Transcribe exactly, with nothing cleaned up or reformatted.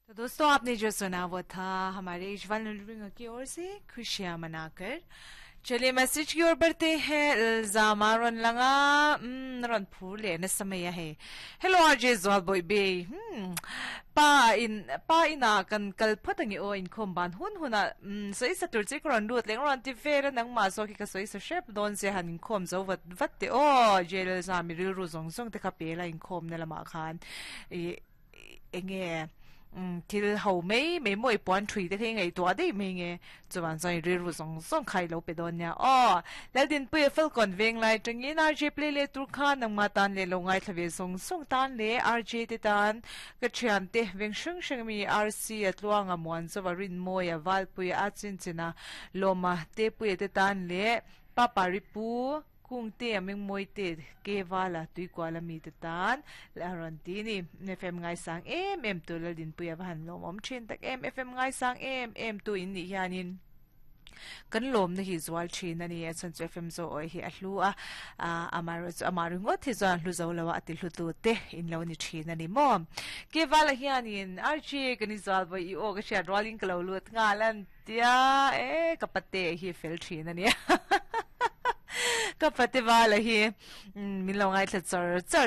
तो दोस्तों आपने जो सुना वो था हमारे इजवाल नलरिंगा की ओर से खुशियां मनाकर चलिए मैसेज की ओर बढ़ते हैं इल्जामा रन लगा रन फूल लेने समय है हेलो आरजे ज्वाल बॉय bay pa in pa ina kan kal phatangi o in khom ban hun huna soi sa tur che kron lut leng ron ti ve nang ma so ki ka soi sa shep don che han in khom zo vat vat te o jail za mi ril ru zong zong te kha pe la in khom na lama khan e enge til ho mei mei moi pon thui te thei ngai to dei mei nge chuan zai ri ru zong zong khai lo pe don nya o lal din pu fel kon veng lai tangin rj play le tur kha nang ma tan le lo ngai thlave zong zong tan le rj te tan ka thian te veng shung shung mi rc atluanga muan chawarin moya wal pui a chin china loma te pu te tan le pa pari pu kung te aming moi te ke wala tui kwala mi te tan la ron ti ni fm ngai sang em em tu la din puya han lom om thin tak em fm ngai sang em em tu in ni hianin kan lom na hi zwal thin ani a chan chu fm zo oi hi a hlu a amar amar ngot hi zan hlu zo lawa ati hlu tu te in lo ni thin ani mo ke wala hianin archi kani zal boi i o ka sha rolling klo lut nga lan tia e kapate hi fel thin ani ka pate wala hi min lo ngai thla char char